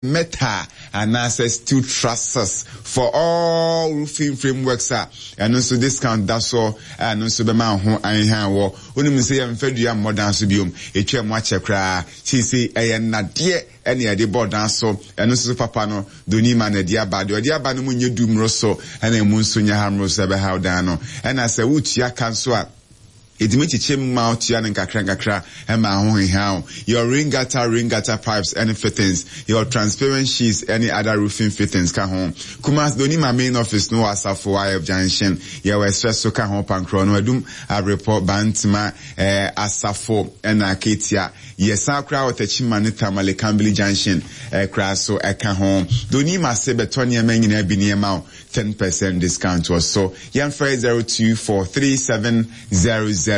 Metal anaasɛ steel trusses for all roofing frameworks a ɛno nso discount da soɔ a ɛno nso bɛma wo ho ahehan wɔ. Wonim sɛ yɛmfa dua mmɔ dan so biom, ɛtwa mu akyɛ koraa. Seesei ɛyɛ nnadeɛ na yɛde bɔ dan so. Ɛno nso so papa no, Donima na ɛde aba. Deɛ ɔde aba no mu nyɛ du mmoro so ɛna ɛmu nso nyɛ ha mmoro so ɛbɛhaw dan no. Ɛna sɛ woretua ka nso a, Yɛtumi kyekyem ma wotua no nkakrankakra ma ho hia wo. Yɛwɔ rain gutter, rain gutter pipes ne fittings. Yɛwɔ transparent sheets ne other roofing fittings ka ho. Kumasi Donima main office no wɔ Asafo IF Junction. Yɛwɔ ɛserɛ so ka ho, Pankrɔ no, Adum, Abrepɔ, Bantama, eh, Asafo na Ketia. Yɛsan koraa wɔ Techiman ne Tamale Kambili Junction eh, koraa so ɛka ho. Donima se bɛtɔ nneɛma nyinaa bi nneɛma wo. 10 percent discount wɔ so. Yɛmfrɛ 0243700523,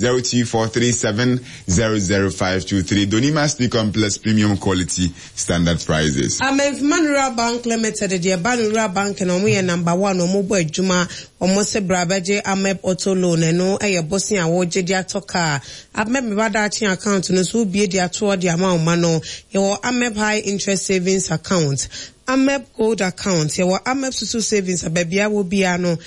0243700523. Donima Steel Complex, premium quality, standard prices. Amenfima Rural Bank Limited deɛ ba no Rural Bank na wɔn yɛ number one, wɔn bɔ adwuma. Wɔn se bra bɛgye Ameb Auto Loan, ɛno yɛ bosia a wɔgye de atɔ car. Ameb Meba Daakye account no nso wobie de atoɔ de ama wɔn ma no. Yɛwɔ Ameb High Interest Savings Account, Ameb Gold Account, yɛwɔ Ameb Susu Savings a baabi a wɔ biara no,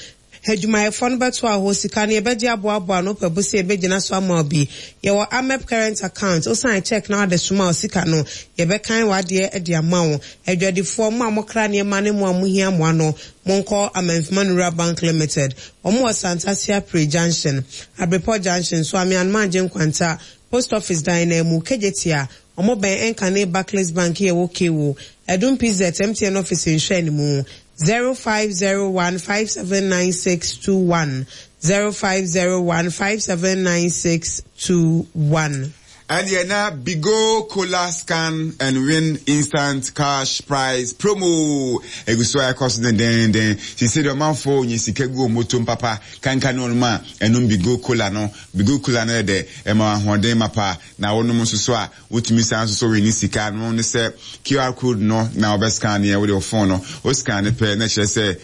adwumayɛfoɔ no bɛto ahɔ sika no yɛbɛgye aboaboa ano pɛ bo sɛ yɛbɛgyina so ama wo bi. Yɛwɔ Ameb Current Account, wosan check na wode soma wo sika no, yɛbɛkan w'adeɛ de ama wo. Adwadifoɔ, mo a mokra nneɛma ne mo a mohia mmoa no, monkɔ Amenfima Rural Bank Limited. Wɔn wɔ Santasi Apre Junction, Abrepɔ Junction, Suame Anomaagye Nkwanta, Post Office dan no mu, Kejetia, wɔn bɛn Nkane Barclays Bank yɛ wɔ Kewo, Adum PZ MTN office nhwɛ ne mu, 0501579621, 0501579621. Ɛneɛ na Bigo Cola Scan and Win Instant Cash Prize Promo egu so a ɛkɔ so dendenden. Sisi deɛ ɔmanfoɔ nya sika gu wɔn motom papa kanka ne wɔn a ɛnom Bigo Cola no. Bigo Cola no yɛ dɛ, ɛma ahoɔden mapa, na wɔnom nso so a wotumi san nso so win sika no ne sɛ QR code no na wɔbɛ scan neɛ wode wo phone no wo scan ne pɛ na kyerɛ sɛ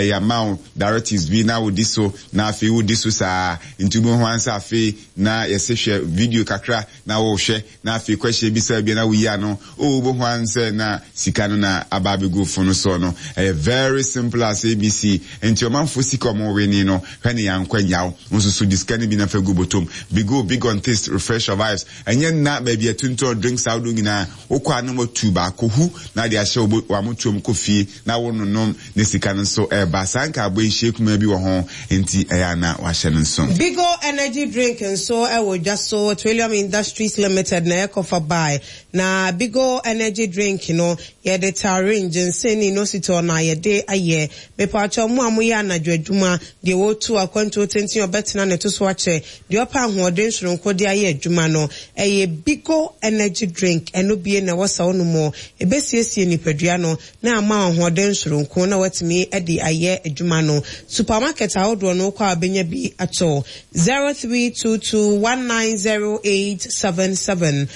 yɛama wo directives bi na wodi so, na afei wodi so saa nti wobɛhu ansa afei na yɛsɛ hwɛ video kakra na wɔhwɛ, na afei question bisa bi na woyi ano o, wobɛhu ansɛ na sika no na aba abɛgu phone no so no. Ɛyɛ very simple as ABC. Nti ɔmanfoɔ sika ɔmo wini no, hwɛ ne yankɔ nyaw nso so di sika no bi na fa gu bɔtɔm. Bigo, big on taste, refresh your vibes. Ɛnyɛ nna baabi ɛtontɔn drinks ahodoɔ nyinaa wokɔ a na watu baako hu na de ahyɛ w'amotuom kɔ fie na wononom ne sika no nso ɛreba saa. Nka abɔ nhyia kumaa bi wɔ ho nti ɛyɛ ana wahyɛ no nso. Bigo Energy Drink nso ɛwɔ dwa so. Trillium Industries Limited na ɛkɔfa bae. Na Bigo Energy Drink no, yɛde taurine, ginseng ne inositol na yɛde ayɛ. Mepatwa mu a moyɛ anadwo adwuma, deɛ wɔtu akwantuo tenten ɔbɛtena ne to so akyɛ, deɛ ɔpɛ ahoɔden soronko de ayɛ adwuma no, ɛyɛ Bigo Energy Drink. Ɛno bie na ɛwɔ sɛ wonom. Ɛbɛsiesie nipadua no na ama ahoɔden soronko na watumi de ayɛ adwuma no. Supermarket ahodoɔ no wokɔ a wobɛnya bi atɔ. 0322190877,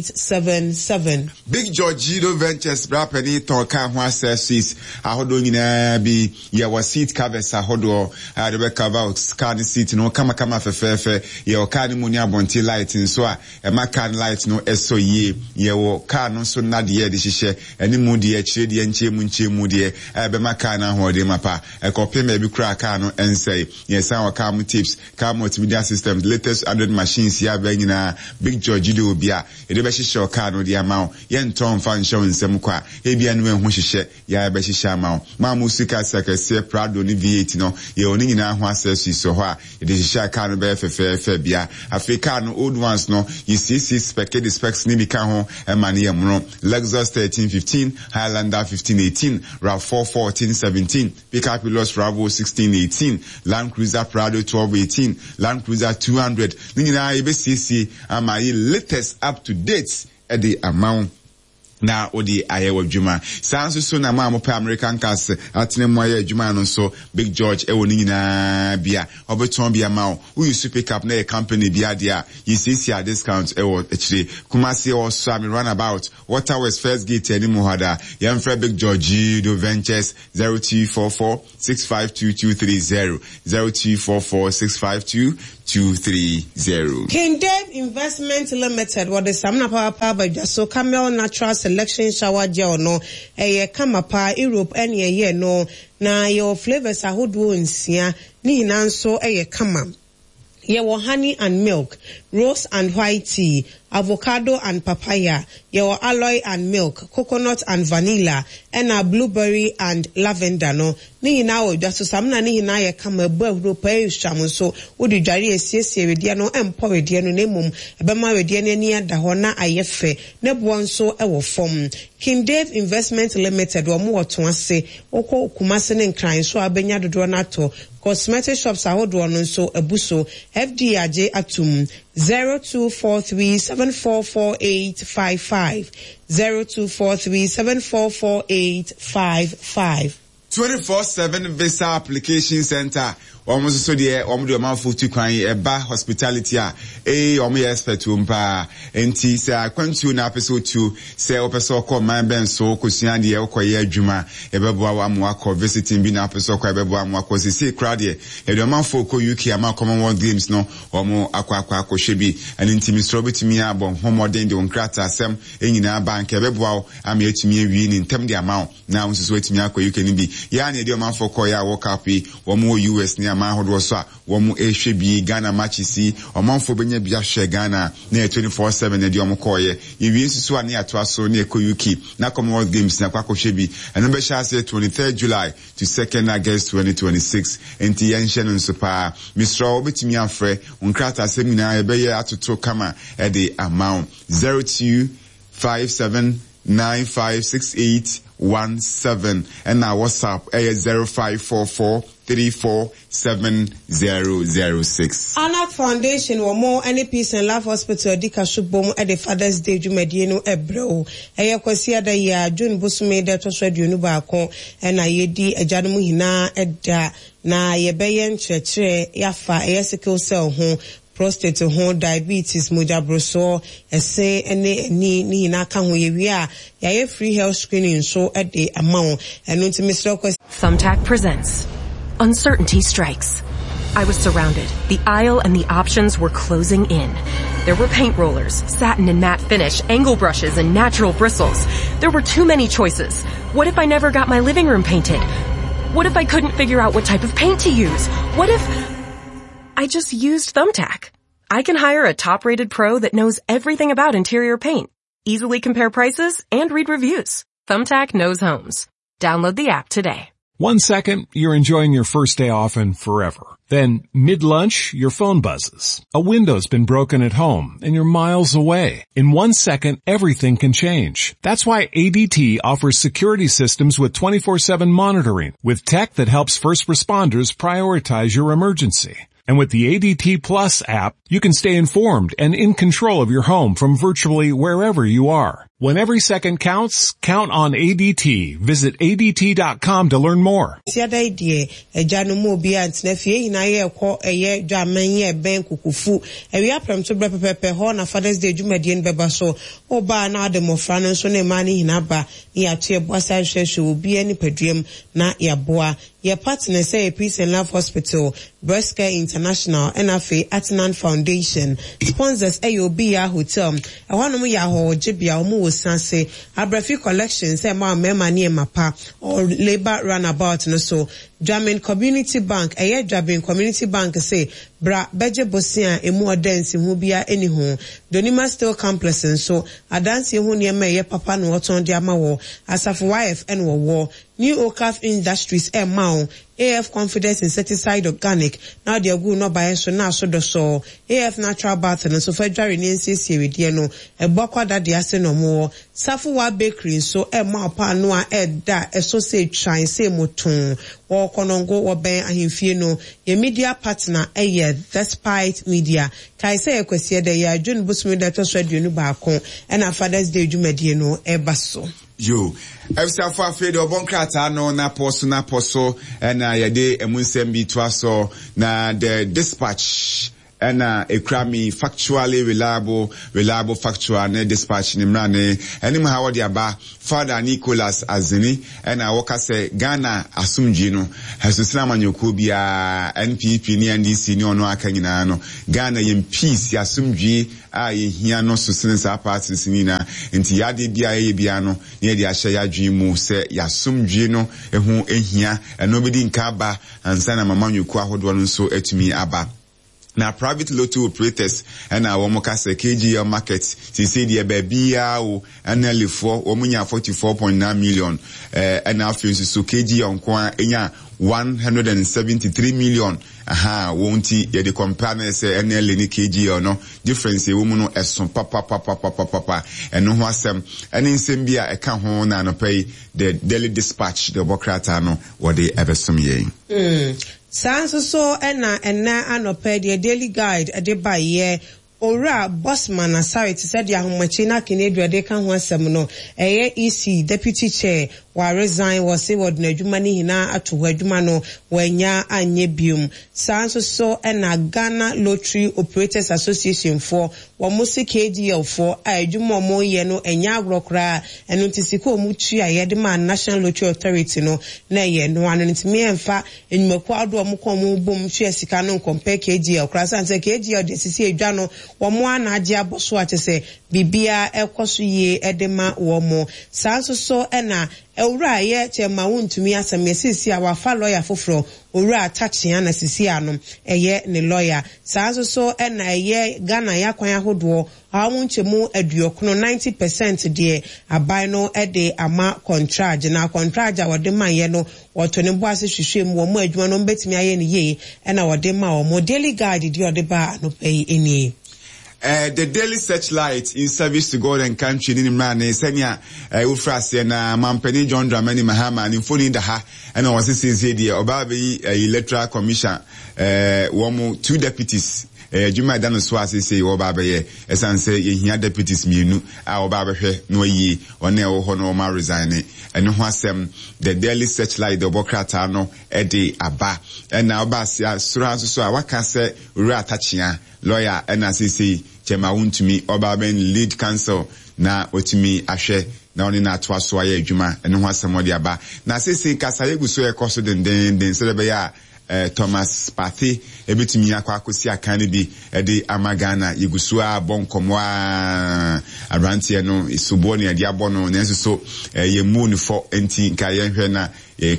0322190877. Big George Gido Ventures bra panin tɔn car ho accessories ahodoɔ nyinaa bi. Yɛwɔ seat covers ahodoɔ a yɛde bɛ cover car no seat no kamakama fɛfɛɛfɛ. Yɛwɔ car no mu ne abɔnten light nso a ɛma car no light no ɛsɔ yie. Yɛwɔ car no nso nnadeɛ yɛde hyehyɛ ɛne mu deɛ, akyire deɛ, nkyɛn mu nkyɛn mu deɛ a ɛbɛma car no ahoɔden mapa. Ɛkɔpem baabi koraa car no ɛnsɛe. Yɛsan wɔ car mu tips, car multimedia systems, latest Android machines yɛ abɛn nyinaa. Big George Gido obi a yɛde bɛhyehyɛ car no de ama wo. Yɛntɔn mfa nhyɛ wo nsam kɔ a ebia no ɛho hyehyɛ yɛ a yɛbɛhyehyɛ ama wo. Maa mo sika akɛseɛ, Prado ne V8 no, yɛwɔ ne nyinaa ho accessories wɔ hɔ a yɛde hyehyɛ a car no bɛyɛ fɛfɛɛfɛ bia. Afei car no old ones no, yɛsiesie spec de specs ne bi ka ho ɛma no yɛ mono. Lexus 1315, Highlander 1518, RAV4 1417, Pickup Hilux Rav4 1618, Land Cruiser Prado 1218, Land Cruiser 200 ne nyinaa yɛbɛsiesie ama yɛ latest up to date ɛde ama wo. Na wode ayɛ w'adwuma. Saa nso so na mo a mopɛ American cars atena mu ayɛ adwuma no nso, Big George wɔ ne nyinaa bi a ɔbɛtɔn bi ama wo. Wo use pickup na ɛyɛ company bi adeɛ a, yɛsiesie a discount wɔ akyire. Kumasi yɛwɔ Suame Runabout, Waterworks first gate anim hɔ ada. Yɛmfrɛ Big George Judo Ventures 0244 652230, 0244 652 230. King Dave Investment Limited wɔde samina papaapa aba dwa so, Camel Natural Selection Shower Gel no, ɛyɛ kama paa, Europe ɛne ɛyɛɛ no, na yɛwɔ flavours ahodoɔ nsia, ne nyinaa nso yɛ kama. Yɛwɔ honey and milk, rose and white tea, avocado and papaya, yɛwɔ aloe and milk, coconut and vanilla, ɛna blueberry and lavender no. Ne nyinaa wɔ dwa so. Samina no nyinaa yɛ kama, ɛbɔ ahuro paa, ɛyɛ hwam nso. Wode dware a, ɛsiesie wedeɛ no, ɛmpɔ wedeɛ no, na mmom ɛbɛma wedeɛ no ani ada hɔ na ayɛ fɛ. Ne boɔ nso wɔ fam. King Dave Investment Limited, wɔn wɔ Toase. Wokɔ Kumasi ne Nkran nso a, wobɛnya dodoɔ no atɔ. Cosmetic shops ahodoɔ no nso abu so. FDA agye atom. 0243 744855, 0243 744855. 24/7 Visa Application Center, Wɔn nso so deɛ wɔn de ɔmanfo tu kwan ɛba hospitality a, ee wɔn yɛ expert wom paa. Enti sɛ akwantuo na apɛ sɛ otuo, sɛ wopɛ sɛ ɔkɔ ɔman bɛn so kɔsua adeɛ, wokɔyɛ adwuma, yɛbɛboa wo ama wakɔ, visiting bi na apɛ sɛ ɔkɔ a yɛbɛboa ama wakɔ. Seesei koraa deɛ yɛde ɔmanfo rekɔ UK ama Commonwealth Games no wɔn akɔ akɔ akɔhwɛ bi. Ɛno nti mesrɛ wo wobɛtumi abɔ ho mmɔden de wo nkrataasɛm nyinaa aba anka yɛbɛboa wo ama yɛatumi awie no ntɛm de ama wo. Na wo nso so woatumi akɔ UK no bi. Yɛ ara na yɛde ɔmanfoɔ kɔeɛ a World Cup yi, wɔn wɔ US ne aman ahodoɔ so a wɔn rehwɛ bi, Ghana matches yi, ɔmanfoɔ bɛnya bi ahwɛ Ghana na yɛ 24/7 na yɛde wɔn kɔeɛ. Yɛwie nso so a na yɛatoa so na yɛkɔ UK na Commonwealth Games na yɛakɔ akɔhwɛ bi. Ɛno bɛhyɛ aseɛ 23rd July to 2nd August 2026. Enti yɛnhyɛ no nso paa. Mesrɛ wo, wobɛtumi afrɛ, wo nkrataasɛm nyinaa yɛbɛyɛ atoto kama de ama wo. 0257 956817 ɛna WhatsApp ɛyɛ 0544347006. Anak Foundation wɔn ne Peace and Love Hospital adi ka so bom de Father's Day dwumadie no brɛ wo. Ɛyɛ Kwasiada yi ara, June bosome da ɛtɔ so 21 na yɛdi agyanom nyinaa da na yɛbɛyɛ nkyerɛkyerɛ afa ɛyɛ sickle cell ho, prostate ho, diabetes, mogyaborosoɔ, ɛse ne ani ne nyinaa ka ho. Yɛwie a, yɛayɛ free health screening nso de ama wo. Ɛno nti mesrɛ wo Kwasi. Thumbtack presents Uncertainty Strikes. I was surrounded. The aisle and the options were closing in. There were paint rollers, satin and matte finish, angle brushes, and natural bristles. There were too many choices. What if I never got my living room painted? What if I couldn't figure out what type of paint to use? What if... I just used Thumbtack. I can hire a top-rated pro that knows everything about interior paint, easily compare prices, and read reviews. Thumbtack knows homes. Download the app today. 1 second, you're enjoying your first day off and forever. Then, mid-lunch, your phone buzzes. A window's been broken at home and you're miles away. In 1 second, everything can change. That's why ADT offers security systems with 24/7 monitoring, with tech that helps first responders prioritize your emergency. And with the ADT Plus app, you can stay informed and in control of your home from virtually wherever you are. When every second counts, count on ADT. Visit ADT.com to learn more. Kwasiada yi deɛ, agya no mu obiara ntena fie. Yɛn nyinaa yɛrekɔ ɛyɛ Dwaman yi a ɛbɛn Kokofu. Awia prɛmto berɛ pɛpɛɛpɛ hɔ na Father's Day dwumadie no bɛba so. Woba a na wode mmɔfra no nso ne mmaa no nyinaa ba na yɛato yɛn bo ase ahwehwɛhwɛ obiara nipaduam na yɛaboa. Yɛ partners yɛ Peace and Love Hospital, Breast Care International ɛna afei Atenan Foundation. Sponsors yɛ Obi Yaa Hotel, ɛhɔnom yɛ ahɔhogyebea, wɔn wɔ Suase. Abrafi Collections ɛma mmarima nneɛma pa, ɔwɔ Labour Runabout no so. Dwamin Community Bank, ɛyɛ Dwabin Community Bank se bra bɛgye bosea a emu ɔdɛ nsiho biara nni ho. Donima Steel Complex nso, adansie ho nneɛma a ɛyɛ papa na wɔtɔn de ama wɔ. Asafo YF ɛna wɔwɔ. New Ocaf Industries rema wo AF Confidence Insecticide Organic na wode agu wo nnɔbaeɛ so na aso dɔsɔɔ. AF Natural Bath no nso fa dware ne nsiesie wedeɛ no. Ɛbɔ akɔ adadeɛ ase na wɔwɔ. Safowa Bakery nso rema wo paanoo a ɛda a ɛsɔ sɛ twan sɛ motoo. Wɔ Konongo wɔbɛn ahemfie no. Yɛn media partner yɛ Despite Media. Kae sɛ ɛyɛ Kwasiada yi ara, June bosome da ɛtɔ so 21 na Father's Day dwumadie no reba so. Yo. Abusuafo afei deɛ ɔbɔ nkrataa no n'apɔ so n'apɔ so na yɛde ɛmu nsɛm bi toa so na The Dispatch ɛna ekura mi factually reliable reliable factual ne dispatch ne mmra ne anim ha wɔde aba Father Nicholas Azini ɛna wɔka sɛ Ghana asomdwie no ɛsosene amanyɔkuo biara NPP ne NDC ne ɔno aka nyinaa no Ghana yɛn peace yɛ asomdwie a yɛhia no so sene saa parties no nyinaa. Nti yɛ adeɛ biara a yɛyɛ biara no na yɛde ahyɛ yɛadwene mu sɛ yɛasomdwie no ho hia. Ɛno bɛdi nka aba ansa na mamanyɔkuo ahodoɔ no nso atumi aba. Na private lotto operators ɛna wɔn ka sɛ KGL market seesei deɛ baabiara o, NLA foɔ wɔn nya 44.9 million ɛna afei nso so KGL nko ara nya 173 million. Ahaa wɔn nti yɛde compare no sɛ NLA ne KGL no difference ɛwɔ mu no ɛso papapapapapapa. Ɛno ho asɛm ɛne nsɛm bi a ɛka ho na anɔpa yi The Daily Dispatch de ɔbɔ krataa no wɔde ɛbɛsom yɛn. Mm. Saa nso so na ɛnnɛ anɔpa yi deɛ Daily Guide de baeɛ Owura Bossman Asare te sɛ deɛ ahomakye na Akenedua de reka ho asɛm no, ɛyɛ EC Deputy Chair, waresign, wɔse wɔde n'adwuma no nyinaa ato hɔ, adwuma no wannya anyɛ biom. Saa nso so na Ghana Lottery Operators Association foɔ, wɔn se KGL foɔ a adwuma a wɔreyɛ no ɛnyɛ agorɔ koraa, ɛno nti sika a wɔtuaeɛ de maa National Lottery Authority no na ɛyɛ ɛno ano no nti meɛmfa Nnwumakuo ahodoɔ a wɔka wɔn bom tua sika no nkɔmpɛ KGL koraa sane sɛ KGL deɛ sisi adwa no wɔn ara na agye abɔ so a kyerɛ sɛ biribiara ɛkɔ so yie de ma wɔn. Saa nso so na Owura a ɛyɛ Kyɛmma Wontumi asɛm yɛ seesei a wafa lɔya foforɔ Owura Takyea na sisi ano ɛyɛ ne lɔya. Saa nso so na ɛyɛ Ghana y'akwan ahodoɔ Ɔha mu nkyɛmu aduokron, 90 percent, deɛ aban no de ama kɔntragye, na kɔntragye a wɔde maeɛ no, wɔto ne bo ase hwehwɛ mu, wɔn adwuma no wɔbɛtumi ayɛ no yie ɛna wɔde ma wɔn. Daily Guide deɛ ɔde baa anɔpa yi nie. Eh, The Daily Searchlight in Service to God and Country ne ne mmrane sɛnea eh, wofiri aseɛ na Mampanin John Dramani Mahama ne mfoni da ha ɛna wɔse seesei deɛ ɔbaa bɛyi eh, Electoral Commission eh, wɔn two deputies Ɛyɛ adwuma a ɛda no so a seesei wɔreba abɛyɛ. Ɛsiane sɛ yɛhia deputies mmienu a wɔba abɛhwɛ na wɔayi wɔn a ɛwɔ hɔ na wɔaresign. Ɛno ho asɛm, The Daily Searchlight de ɔbɔ krataa no de aba. Ɛna woba aseɛ soro ha nso so a, wɔaka sɛ Owura Atakyea, lawyer, ɛna seesei Chairman Wontumi ɔreba abɛn lead counsel na watumi ahwɛ na ɔne no atoa so ayɛ adwuma. Ɛno ho asɛm wɔde aba. Na seesei kasaeɛ gu so rekɔ so dendeenden sɛdeɛ ɛbɛyɛ a Thomas Partey bɛtumi akɔ akɔsi akan no bi de ama Ghana. Yɛgu so ara bɔ nkɔmmɔ ara. Aberanteɛ no, soboɔ na yɛde abɔ no, nanso so yɛmmuu no fɔ nti nka yɛnhwɛ na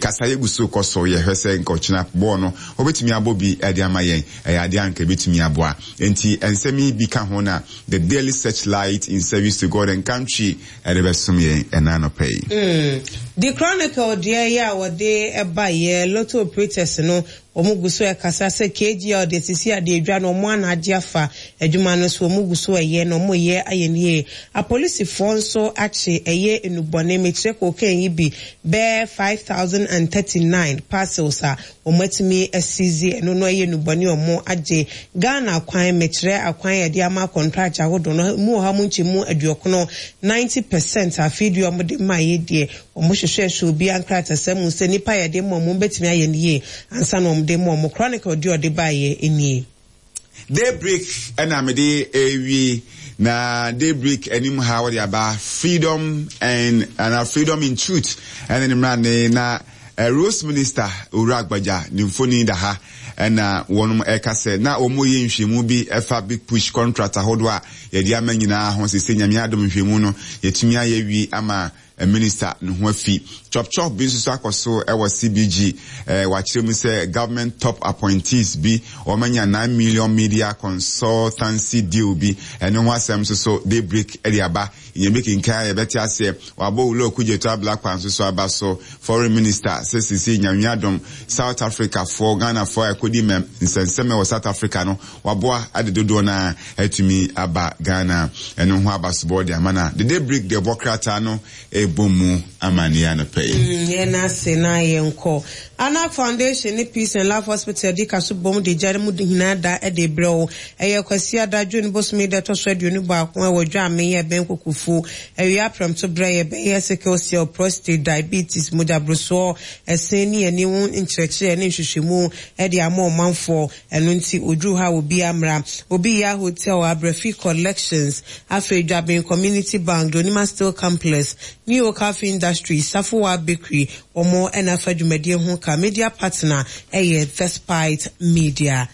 kasa yɛgu so kɔ so. Yɛhwɛ sɛ nka ɔkyena bɔɔl no ɔbɛtumi abɔ bi de ama yɛn. Ɛyɛ adeɛ a nka ɛbɛtumi aboa. Nti nsɛm yi bi ka ho na The Daily Searchlight in Service to God and Country de bɛsom yɛn ɛna anɔpa yi. The Chronicle deɛ yɛ a wɔde baeɛ, Lotto operators no wɔn gu so ɛkasa sɛ KGL deɛ sisi a deɛ adwa no wɔn ara na agye afa adwuma no so wɔn gu so ɛyɛ na wɔn reyɛ ayɛ no yie. Apolisifoɔ nso akye ɛyɛ nnubɔne mekyerɛ cocaine yi bi bɛyɛ 5,039 parcels a Wɔn atumi asizi ɛno no ɛyɛ nnubɔne a wɔn agye. Ghana akwan, mekyerɛ akwan a yɛde ama kɔntrakye ahodoɔ no mu ɔha mu nkyɛmu aduɔkono, 90 percent, afei deɛ wɔn de maeɛ deɛ wɔn hwehwɛ hwɛ obiara nkratasɛm mu sɛ nnipa a yɛde ma wɔn bɛtumi ayɛ no yie ansa na wɔn de ma wɔn. Chronicle deɛ ɔde baeɛ nie. Daybreak ɛna mede ɛrewie na Daybreak anim ha wɔde aba freedom and ana freedom in truth ɛne ne mmerane na eh, Rose Minister Owura Agbagya ne mfoni da ha ɛna wɔnom ɛka sɛ na wɔn yɛ nhwɛmu bi ɛfa big push contract ahodoɔ a yɛde ama nyinaa ho sɛ Nyame adom nhwɛmu no yɛtumi ayɛ wie ama Minister no ho afi. Chop chop bi nso so akɔ so wɔ CBG. Wɔakyerɛ mu sɛ government top appointees bi wɔanya 9 million media consultancy deal bi. Ɛno ho asɛm nso so Daybreak de aba. Yɛn bi kenkan a yɛbɛte aseɛ. Wɔabɔ Wula Okudzeto Ablakwa nso so aba so. Foreign Minister sɛ seesei Nyame adom South Africa foɔ, Ghana foɔ a ɛkɔdi mmɛm nsɛnsɛm wɔ South Africa no wɔaboa ade dodoɔ no ara atumi aba Ghana. Ɛno ho abasobɔ de ama no a The Daybreak de ɛbɔ krataa no rebɔ mu amanneɛ anɔpa yi. Yɛn ase na yɛnkɔ. Anak Foundation ne Peace and Love Hospital adi ka so bom de gya no mu hina da de rebrɛ wo. Ɛyɛ Kwasiada, June bosome da ɛtɔ so 21 wɔ Dwamen a ɛbɛn Kokofu. Awia prɛmto berɛ yɛbɛyɛ sickle cell, prostate, diabetes, mogyaborosoɔ, ɛse ne ani ho nkyerɛkyerɛ ne nhwehwɛmu de ama ɔmanfoɔ. Ɛno nti ɔduru hɔ a obiara mmra. Obi Yah Hotel, Abrafi Collections, afei Dwaben Community Bank, Donima Steel Complex, New Okafi Industries, Safowa Bakery, Wɔn na afa dwumadie ho ka. Media partner yɛ Despite Media.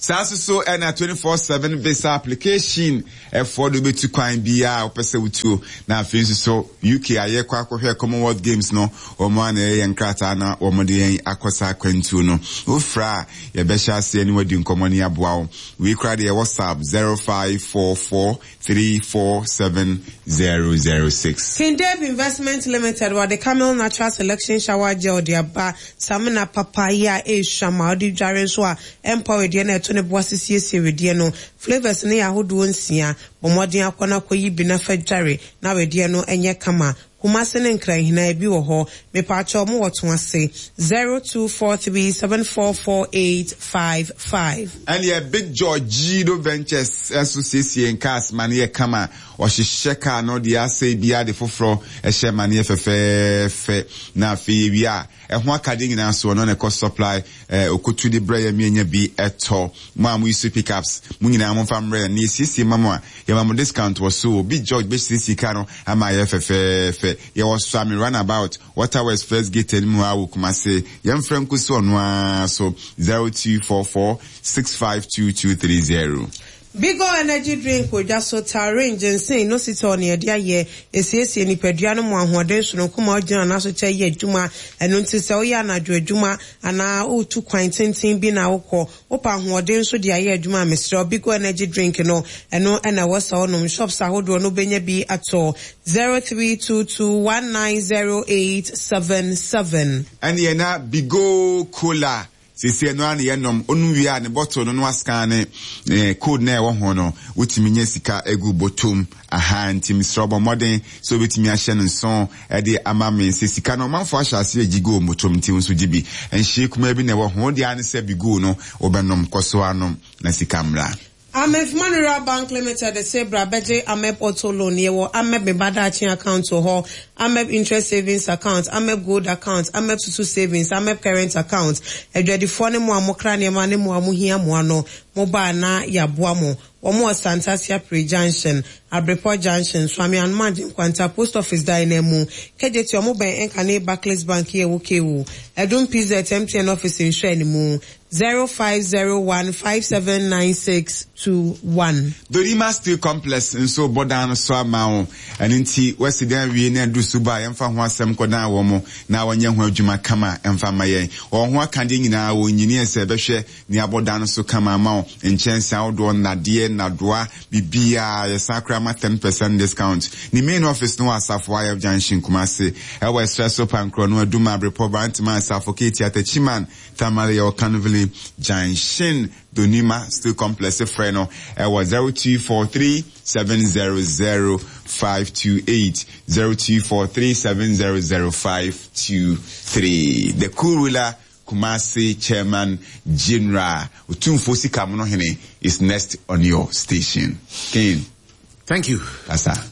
Saa nso so na 24/7 visa application ɛfoɔ de wobɛtu kwan biara a wopɛ sɛ wotuo. Na afei nso so UK a yɛkɔ akɔhwɛ Commonwealth Games no, wɔn a na ɛyɛ yɛn nkrataa na wɔn de yɛn akɔ saa akwantuo no. Wofrɛ a yɛbɛhyɛ aseɛ ne wadi nkɔmmɔ ne aboa wo. Wei koraa deɛ WhatsApp 0544 347006. King Dave Investment Limited wɔde Camel Natural Selection Shower Gel de aba, samina papa yi a ɛrehwam a wode dware nso a ɛmpa wedeɛ na ɛto ne bo ase siesie wedeɛ no. Flavours no yɛ ahodoɔ nsia. Bɔ mmɔden akɔ na kɔyi bi na fa dware na wedeɛ no nyɛ kama. Kumase ne Nkran nyinaa ebi wɔ hɔ. Mepaakyɛw mo wɔ to ase 0243744855. Ɛneɛ Big George Gyido Ventures nso siesie cars ma no yɛ kama. Ɔhyehyɛ car no deɛ asɛe biara de foforɔ hyɛ ma no yɛ fɛfɛɛfɛ. Na afei yɛwie a, ɛho akadeɛ nyinaa nso ɔno na ɛkɔ supply, ɔkɔtu de brɛ yɛn ma yɛnya bi tɔ. Mo a mo use pickups, mo nyinaa momfa mmrɛ yɛn na yɛsiesie ma mo a, yɛma mo discount wɔ so. Big George bɛsiesie car no ama ayɛ fɛfɛɛfɛ. Yɛwɔ Suame Runabout, Waterworks First Gate anim hɔ ara wɔ Kumasi. Yɛmfrɛ nkosi ɔno ara so, 0244 652230. Bigo Energy Drink wɔ dwa so, Taurine, Ginseng, Inositol na yɛde ayɛ. Esiesie nipadua no mu ahoɔden sononko ma ogyina n'asokyɛ yɛ adwuma. Ɛno nti sɛ woyɛ anadwo adwuma anaa woretu kwan tenten bi na wokɔ, wopɛ ahoɔden nso de ayɛ adwuma a, mesrɛ wo, Bigo Energy Drink no, ɛno na ɛwɔ sɛ wonom. Shops ahodoɔ no wobɛnya bi atɔ. 0322190877. Ɛneɛ na Bigo Cola Seesei ɛno ara na yɛnom. Wonom wie a, ne bottle no na wascan ne code no a ɛwɔ ho no, wotumi nya sika gu bɔtɔ mu. Ahaa, nti mesrɛ wo bɔ mmɔden sɛ wobɛtumi ahyɛ no nso de ama me. Sɛ sika no, ɔmanfoɔ ahyɛ aseɛ regye gu wɔn bɔtɔ mu, nti wo nso gye bi. Nhyee kumaa bi na ɛwɔ ho, wo deɛ ara ne sɛ bi gu no, wobɛnom. Kɔ so ara nom na sika mmra. Amef Manural Bank Limited se bra bɛgye Amep Auto Loan. Yɛwɔ Amep Me Ba Daakye Account wɔ hɔ, Amep Interest Savings Account, Amep Gold Account, Amep Susu Savings, Amep Current Account. Adwadifoɔ ne mo a mokra nneɛma ne mo a mohia mmoa no, moba a na yɛaboa mo. Wɔn wɔ Santasi Apre Junction, Abrepɔ Junction, Suame Anoma Agyenkwanta, Post Office dan no amu, Kejetia, wɔn bɛn Nkane Barclays Bank yi a ɛwɔ Kewu, Adum PZ MTN Office nhwɛanimu. 0501579621. Dorima Steel Complex nso bɔ dan no so ama wo. Ɛno nti, woasi dan awie na aduru so bɔ a, yɛmfa ho asɛm nkɔdan wɔn na wɔnyɛ ho adwuma kama mfa mma yɛn. Wɔn ho akadeɛ nyinaa, wɔ engineers a ɛbɛhwɛ nea abɔ dan no so kama ama wo, nkyɛnsee ahodoɔ, nnadeɛ, nnadoa, biribiara. Yɛsan koraa ma 10% discount. Ne main office no wɔ Asafo IF Junction, Kumasi. Ɛwɔ Ɛserɛ so, Pankorɔ no, Adum, Abrepɔ, Bantama, Asafo, Ketia, Techiman, Tamale yɛwɔ Kanvili Junction Donima Steel Complex frɛ no ɛwɔ 0243 700 528 0243 700 523 The Cool Ruler Kumasi Chairman General Otumfuo Sikamono Hene is next on your station. King. Thank you. Kasa.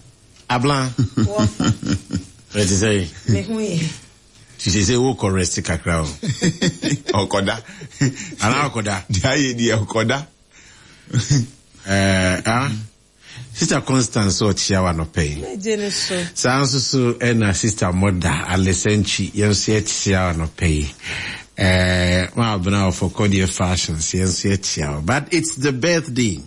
Abla. Ɛte sɛ. Me ho yɛ. Ti sese wo kɔ rest kakra o. Ɔkɔda. Ana ɔkɔda. Deɛ ayɛ deɛ ɔkɔda. Ɛɛ ah. Sister Constance ɔkyia wa nɔpɛ yi. Mɛgye ne so. Saa nso so ɛna Sister Mɔda Alesɛnkyi yɛn nso yɛkyia wa nɔpɛ yi. Ɛɛ maa abena ɔfɔkɔdeɛ fashions yɛn nso yɛkyia wa. But it's the birthday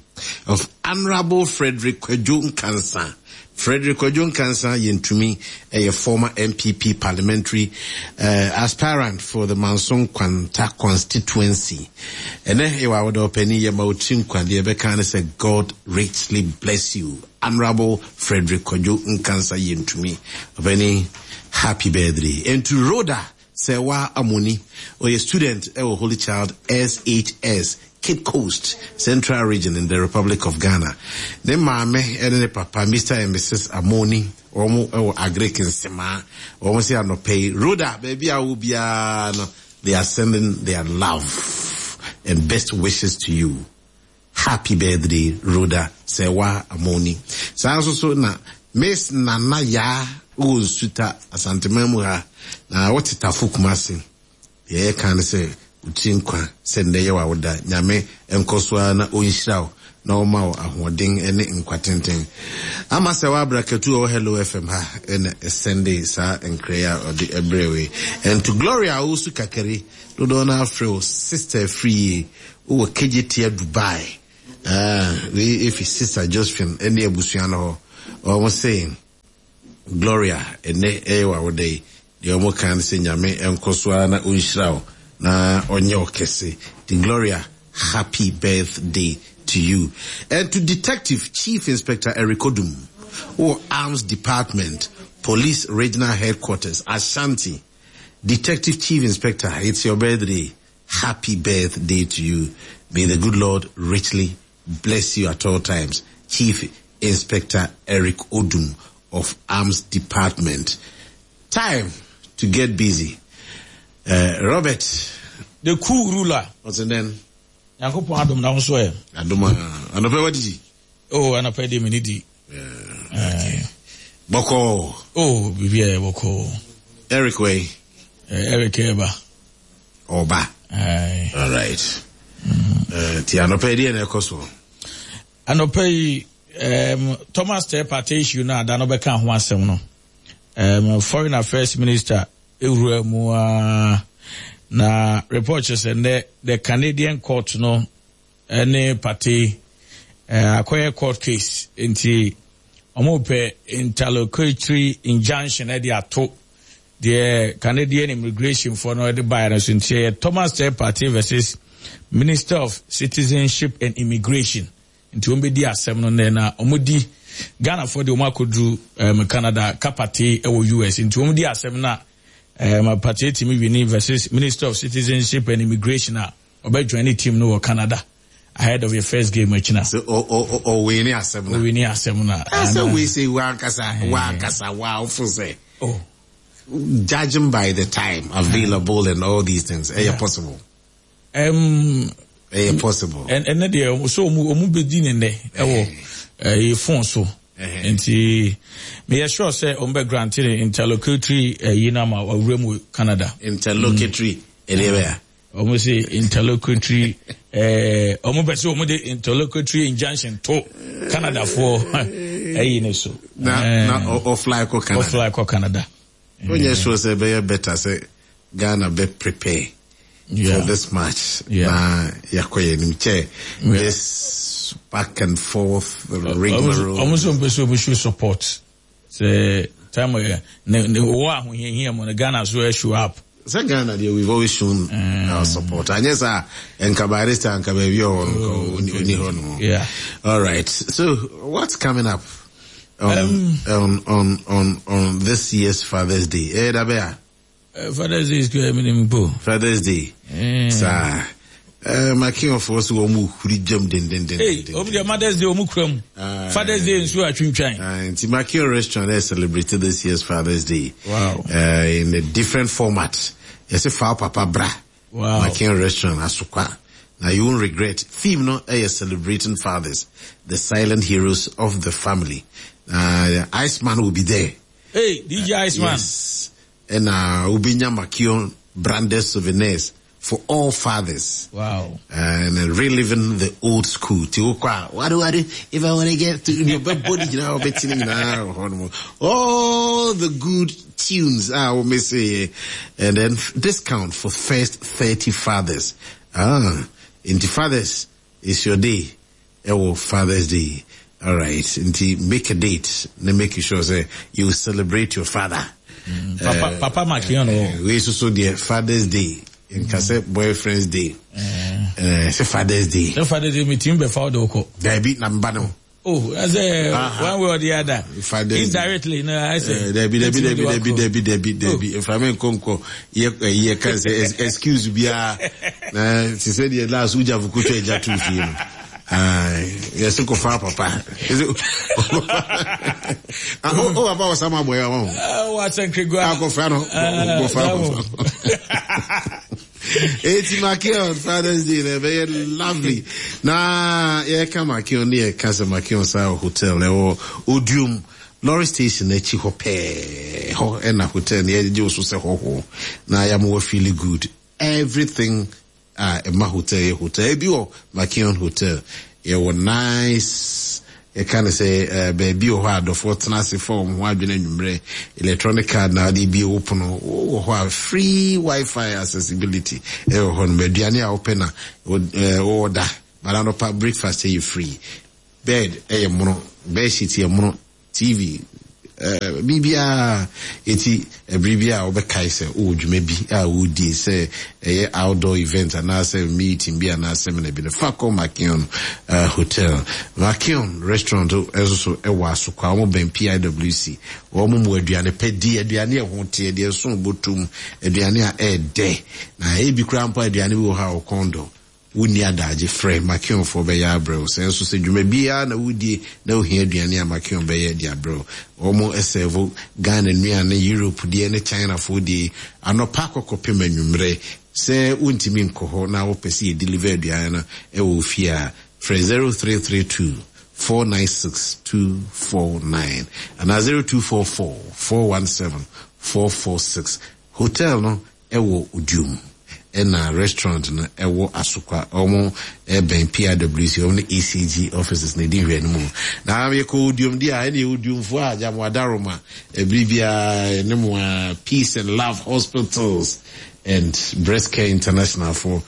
of Honourable Frederick Kwadwo Nkansah. Frederick Kwadwo Nkansah Yentumi yɛ former NPP parliamentary aspirant for the Manso Nkwanta constituency. Ɛnɛ yɛwɔ awoda ɔpanin yɛma wo tiri nkwa deɛ yɛbɛka ne sɛ God richly bless you Honourable Frederick Kwadwo Nkansah Yentumi. Ɔpanin happy birthday. And to Rhoda Serwaa Amoni, ɔyɛ student wɔ Holy Child SHS, Cape Coast, Central Region in the Republic of Ghana. Ne maame ne ne papa, Mister and Mrs. Amoni, wɔn wɔ Agric Nsemaa. Wɔn se anɔpa yi, Rhoda, baabi a wowɔ biara no, They are sending their love and best wishes to you. Happy birthday Rhoda Serwaa Amoni. Saa nso so na Miss Nana Yaa wɔ Nsuta, Asanteman mu ha, na wote Tafo Kumasi. Deɛ yɛka ne sɛ wo tiri nkwa sɛ nnɛ yɛ w'awoda. Nyame nkɔ so ara na ɔnhyira wo na ɔma wo ahoɔden ne nkwa tenten. Ama Serwaa Brakatu a ɔwɔ Hello FM ha na ɛsɛndee saa nkra yi a ɔde brɛɛ wo yi. And to Gloria Owusu Kakari, dodoɔ no ara frɛ wo Sister Afriyie. Wowɔ Kejetia Dubai. Ah, wei efi Sister Josephine ne abusua no hɔ. Wɔn se, Gloria, ɛnɛ ɛyɛ w'awoda yi. Deɛ wɔn ka ne sɛ Nyame nkɔ so ara na ɔnhyira wo na ɔnyɛ wo kɛse. Nti Gloria, happy birthday to you. And to Detective Chief Inspector Eric Odum, wowɔ Arms Department, Police Regional Headquarters, Ashanti. Detective Chief Inspector, it's your birthday. Happy birthday to you. May the good Lord richly bless you at all times. Chief Inspector Eric Odum of Arms Department. Time to get busy. Uh, Robert. The cool ruler. What's the name? Nyankopɔn adom na wo nso ɛ. Adom a. Anɔpɛ wadidi? Oh, anɔpɛ deɛ mene di. Okay. Bɔkɔɔ. Oh, biribi a ɛyɛ bɔkɔɔ. Eric wei. Eric ɛba. Ɔba. All right. Mm. Ti anɔpɛ deɛ na ɛkɔ so. Anɔpɛ yi, um, Thomas Teh Partey issue no ada no bɛka ho asɛm no. Um, Foreign Affairs Minister ewura mu a na report kyerɛ sɛ nnɛ the Canadian court no ne Partey uh, akɔyɛ court case nti wɔn pɛ interlocutory injunction de ato Deɛ Canadian immigration foɔ no de baeɛ no so nti ɛyɛ Thomas Teh Partey versus Minister of Citizenship and Immigration nti wɔn bɛdi asɛm no nnɛ na wɔn di Ghana foɔ deɛ wɔn akɔduru um, Canada ka Partey wɔ US nti wɔn di asɛm no a um, Partey tumi wini versus Minister of Citizenship and Immigration a ɔbɛ join ne team no wɔ Canada ahead of your first game akyina. So ɔwini asɛm na. Ɔwini asɛm na. Asɛ wei sɛ wankasa wankasa waofo sɛ. Oh. Judging by the time available and all these things, ɛyɛ possible. Um, ɛyɛ possible. Ɛnɛ deɛ so ɔmu ɔmu bɛ di ne nɛ ɛwɔ ɛyɛ phone so. Nti meyɛ sure sɛ ɔmu bɛ grant ne interlocutory ɛyi na ma ɔwura mu Canada. Interlocutory ɛdeɛ bɛ ya. Wɔn se interlocutory ɛɛ eh, wɔn pɛ sɛ wɔn de interlocutory injunction to Canada foɔ ɛyi ne so. Na eh, na ɔfly kɔ Canada. Ɔfly kɔ Canada. Wọ́n yẹ sure sɛ ɛbɛyɛ better sɛ Ghana bɛ prepare. Yeah. For this match. Yeah. Na yakɔ yɛ nim kyɛ. This back and forth rigmarole. Wɔn nso mpɛ sɛ wɔn show support. Sɛ time yɛ ne ne wɔ ahohiahia mu no Ghana so show up. Sɛ Ghana deɛ we've always shown mm. our support. Anyɛ saa nka by this time nka baabi a ɔwɔ no nka ɔni hɔ no. Yeah. All right. So what's coming up on um, on, on on on this year's Father's Day? Eh, dabe a. Eh, Father's Day is good, menim mpo. Father's Day. Eh. Saa. Eh, Makeɔfoɔ so wɔn mu huri gyam dendenden. Hey, wɔn deɛ Mother's Day wɔn kura mu. Ah. Father's Day nso atwintwan. Ah, nti Makeo restaurant is celebrated this year's Father's Day. Wow. Uh, in a different format. Yɛsɛ fa papa bra. Wow. Makeo restaurant asokwa. Now you won't regret. Theme no eh, celebrating fathers, the silent heroes of the family. Uh, Iceman will be there. Hey, DJ Iceman. Yes. Ɛna wobɛnya Makion branded souvenirs for all fathers. Wow. And reliving the old school. Ti wokɔ a, wade wade, if I wanna get to, deɛ ɔbɛbɔ ne nyinaa ɔbɛti ne nyinaa wɔ hɔ nom. All the good tunes a wɔmɛsɛ And then discount for first 30 fathers. Ah, nti fathers, it's your day. Ɛwɔ Father's Day. Alright, nti make a date na make sure sɛ you celebrate your father. Mm, papa, uh, papa Makion o. Eh, wei soso deɛ Father's Day. Nka sɛ boyfriend's day. Eh, sɛ Father's Day. Sɛ Father's Day, metumi bɛfa wo de wokɔ. Daabi, na mba no. Oh, I say one way or the other. Father's Indirectly, no, I say. Eh, dabi, dabi, dabi, dabi, dabi, dabi, dabi. Nfa me nkɔ nkɔ yɛ yɛ kan sɛ excuse biara. Na te sɛ deɛ last wogya fo kotwa agya to fie no. Yɛse kɔfa papa. O papa wɔ sama abɔyɛ wɔn. Wasɛnkregua. Akɔfa no. Kɔfa papa. Eti Makion Father's Day na ɛbɛyɛ lovely. Na yɛka Makion ne yɛka sɛ Makion saa hotel ɛwɔ Odium lorry station akyi hɔ pɛɛ hɔ ɛna hotel no yɛgye wo so sɛ hɔhoɔ na yɛama wa feel good everything a ɛma hotel yɛ hotel. Ebi wɔ McKeon Hotel. Yɛwɔ nice yɛka no sɛ eh, baabi wɔ hɔ a adɔfoɔ tena ase fa wɔn ho adwene anwummerɛ. Electronic card na wode bie wo pono. Wowɔ hɔ a free wifi accessibility ɛwɔ hɔ nom. Aduane a wopɛ na wowɔ da. But anɔpa breakfast ɛyɛ free. Bed ɛyɛ mono, bed sheet yɛ mono. TV, eh, biribiara. Enti, bere bi a wobɛkae sɛ wowɔ dwuma bi a woredi, sɛ ɛyɛ outdoor event anaasɛ meeting bi anaa seminar bi no, fa kɔ McKeon uh, Hotel. McKeon Restaurant nso so wɔ Asokwa, wɔn bɛn PIWC. Wɔn mu aduane pɛ di, aduane a ɛho teɛ, deɛ ɛso bɔtom, aduane a ɛɛdɛ. Na ebi koraa mpo aduane bi wɔ hɔ a wɔkɔn dɔ. Wonni adagye, frɛ Makeonfoɔ bɛyɛ abrɛ wo. Sɛ nso sɛ dwuma biara na wodie na wohia aduane a Makeon bɛyɛ de abrɛ wo. Wɔn sɛɛvo Ghana nnuane, Europe deɛ ne Chinafoɔ deɛ yi anɔpa kɔ kɔpem anwummerɛ. Sɛ wontumi nkɔ hɔ na wopɛ sɛ yɛ deliver aduane no wɔ wo fie a, frɛ 0332 496 249 anaa 0244 417 446. Hotel no wɔ Odiom ɛna restaurant no ɛwɔ Asokwa. Wɔn ɛbɛn PIWC, wɔn ne ECG offices na ɛdi nhwɛanimu. Na yɛkɔ Odiom deɛ a, ɛne Odiomfoɔ a Gyamo Adaroma, ɛbere biara ɛne mo a Peace and Love Hospitals and Breast Care International foɔ,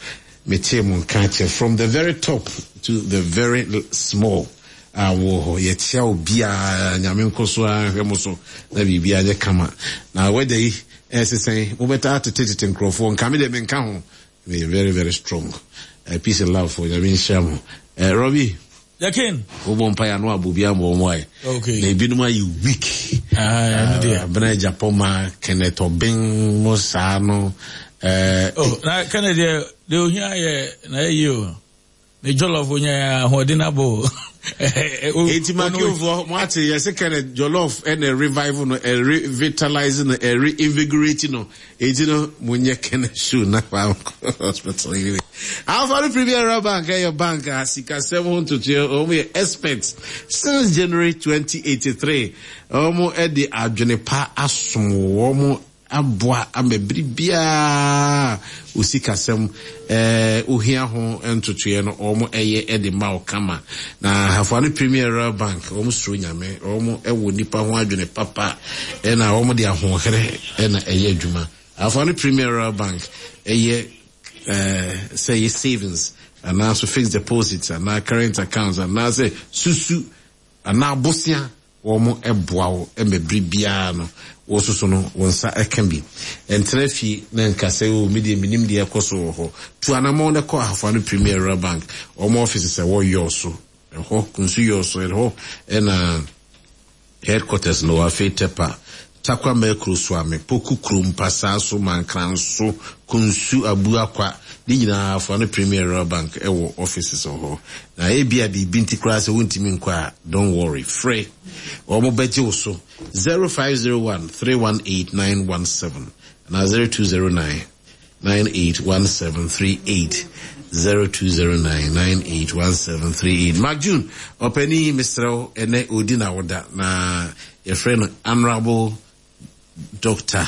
metee mo nka kyɛ from the very top to the very small a wowɔ hɔ. Yɛkyea obiara, Nyame nkɔ so ara nhwɛ mo so na biribiara nyɛ kama. Na weather yi, Ɛse sɛn? Mobɛtaa tete tete nkorɔfoɔ nka me deɛ menka ho meyɛ very very strong eh, peace and love for Nyame nhyira mo eh, Robbie. Yakin. Wobɔ mpaeɛ ano abɔ obiara ma wɔn ayɛ. Okay. Na ebinom ayɛ weak. Ah, ɛno deɛ. Abena Agyapong Kenneth Obeng mo saa no. Eh, oh, na Kenneth deɛ deɛ ohia yɛ na ɛyɛ o. Ne jollof onya ahoɔden abɔ o. Eti Makeofoɔ mo ate yɛse Kenneth jollof ɛna revive no ɛrevitalize no ɛreinvigorate no eti no mo nyɛ Kenneth show na wankɔ hospital yi. Alpha Premier Rural Bank ɛyɛ bank a sikasɛm ho ntotoeɛ wɔn yɛ experts since January 2083 wɔn ɛde adwene pa asom wɔn aboa ama bere biara a wo sikasɛm ohia ho ntotoeɛ no wɔn yɛ de ma wo kama. Na Hafuane Premier Rural Bank wɔn suro Nyame, wɔn wɔ nipa ho adwene papa ɛna wɔn de ahoɔherɛ na ɛyɛ adwuma. Hafuane Premier Rural Bank ɛyɛ sɛ ɛyɛ savings anaa so fixed deposits anaa current accounts anaa sɛ susu anaa bosea Wɔboa wo ma bere biara no wo nso so no wo nsa ka bi. Ntena fie na nka sɛ, 'Oh, me deɛ minnim deɛ ɛrekɔ so wɔ hɔ. Tu anammɔn na kɔ Ahafo-Ano Premier Rural Bank, wɔn offices a ɛwɔ Yaw so, ɛhɔ, Kunsu Yaw so, ɛhɔ na headquarters no wɔ. Afei Tepa, Tarkwa Merkro Suame, Poku Kurom, Pasaaso, Mankranso, Kunsu, Abuakwa, ne nyinaa Ahafo-Ano Premier Rural Bank wɔ offices wɔ hɔ. Na ebia biribi nti koraa sɛ wontumi nkɔ a, don't worry, frɛ. Wɔn bɛgye wo so. 0501 318 917 anaa 0209 981738. 0209 981738. Mark June, ɔpanin yi mesrɛ wo, ɛnɛ ɔredi n'awoda na yɛfrɛ no Honourable Doctor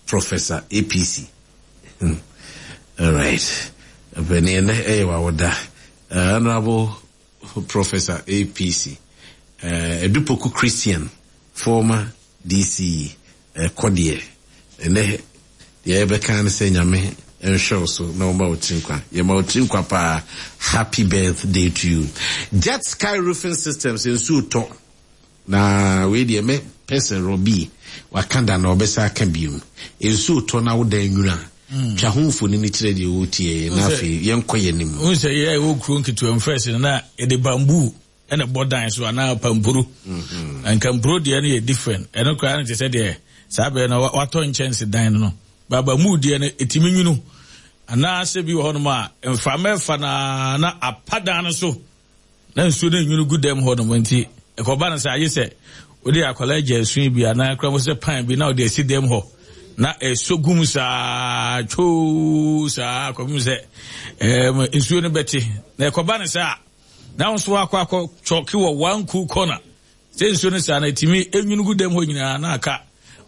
Professor APC. Hmm. All right. Ɔpanin ɛnɛ ɛyɛ w'awoda. Uh, Honourable Professor APC. Uh, Edupoku Christian, former DCE. Ɛkɔ deɛ, ɛnɛ deɛ yɛbɛka ne sɛ Nyame nhwɛ wo so na ɔma wo tiri nkwa. Yɛma wo tiri nkwa paa. Happy birthday to you. Jet Sky Roofing Systems nsuo tɔ. Na wei deɛ mɛ pɛ sɛ Robbie waka da na ɔbɛsa aka biom. Nsuo tɔ na wo dan nwunu a, mm. twa ho mfonini kyerɛ deɛ ɔretie na afei yɛnkɔ yɛn anim. Wohu sɛ yɛ ɛwɔ kuro nketewa mu fɛs no na yɛde bamboo ɛna ɛbɔ dan so anaa pampuro. Mm-hmm. Na nkampuro deɛ no yɛ different. Ɛno koraa no te sɛ deɛ saa bɛyɛ no watɔ nkyɛnse dan no no. Ba bamboo deɛ no ɛtumi nwunu. Anaasɛ bi wɔ hɔnom a mframa ɛfa na na apa dan no so. Na nsuo no nwunu gu dɛm hɔ nom nti ɛkɔba no sɛ agye sɛ wode akwadaa gya asu bi anaa kora mo sɛ pan bi na wode asi dɛm hɔ. Na ɛsɔ gum saa twoo saa kɔpem sɛ ɛɛm nsuo no bɛte. Na ɛkɔba no saa na nso akɔ akɔ kyɔke wɔ one cool corner. Sɛ nsuo no saa no ɛtumi ɛnwunu gu dɛm hɔ nyinaa na aka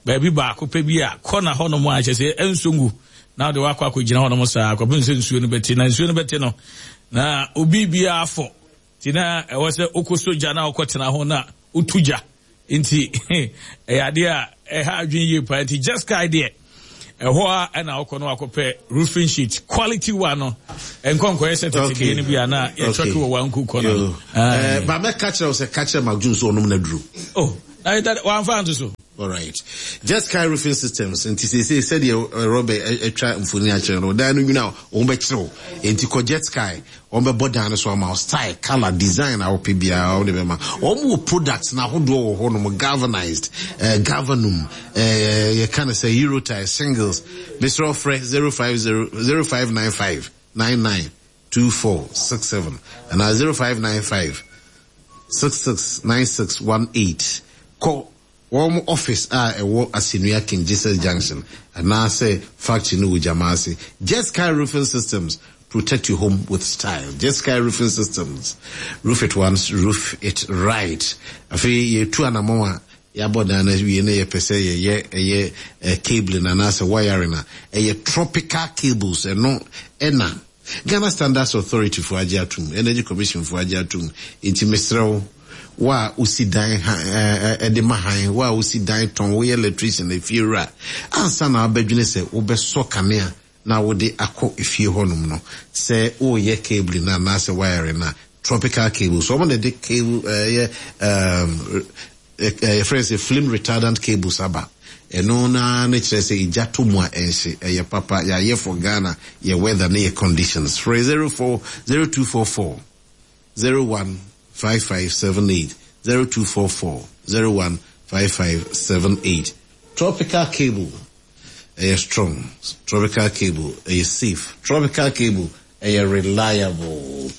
baabi baako pɛ bi a kɔna hɔnom a kyɛ sɛ ɛnsɔ ngu na wode wakɔ akɔgyina hɔnom saa kɔpem sɛ nsuo no bɛte. Na nsuo no bɛte no na obi biara afɔ nti na ɛwɔ sɛ wokɔsɔ gya na wokɔtena ho na wotu gya. Nti ɛyɛ adeɛ a ɛha adwene yie paa. Nti just kae deɛ ɛhɔ a ɛna wokɔ no wakɔpɛ roofing sheet quality one no ɛnkɔ nkɔyɛ sɛ tete deɛ no bi a na yɛtwɛke wɔ wanku kɔ no. Ba mɛka kyerɛ wo sɛ ka kyerɛ Mark Jones sɛ ɔnom n'aduro. Oh, na wamfa anto so. Alright. Just Sky Roofing Systems nti seesei sɛdeɛ Robert atwa mfoni akyerɛ no, dan no nwunu a wɔn bɛkyerɛ wo. Nti kɔ Jet Sky, wɔn bɛbɔ dan no so ama wo style, color, design a wopɛ biara wɔn de bɛma. Wɔn wɔ products na ahodoɔ wɔ hɔ nom, galvanized, galvanum, yɛka no sɛ Eurotile, shingles. Mesrɛ wo frɛ 050 0595 99 2467 anaa 0595 669618 kɔ wɔn office a ɛwɔ Asenua King Jesus Junction anaasɛ factory no wɔ Gyamaase. Jet Sky Roofing Systems, protect your home with style. Jet Sky Roofing Systems, roof it once, roof it right. Afei yɛtu anamɔn a yɛabɔ dan no awie na yɛpɛ sɛ yɛyɛ ɛyɛ cabling anaasɛ wiring a, ɛyɛ tropical cables ɛno ɛna Ghana Standards Authority foɔ agye atom, Energy Commission foɔ agye atom, nti mesrɛ wo, wo a wosi dan ha ɛde ma han, wo a wosi dan tɔn, woyɛ electrician, efiewura, ansa na wabɛdwene sɛ wobɛsɔ kanea na wode akɔ efie hɔnom no, sɛ woreyɛ cabling no anaasɛ wiring no a, tropical cables, wɔn na ɛde cable ɛyɛ ɛɛm yɛfrɛ no sɛ flame retardant cables aba. Ɛno no ara ne kyerɛ sɛ egya tɔ mu a ɛnhye. Ɛyɛ papa. Yɛayɛ for Ghana, yɛ weather ne yɛ conditions. Frɛ 04 0244 01 5578 0244 01 5578. Tropical cable ɛyɛ strong. Tropical cable ɛyɛ safe. Tropical cable ɛyɛ reliable.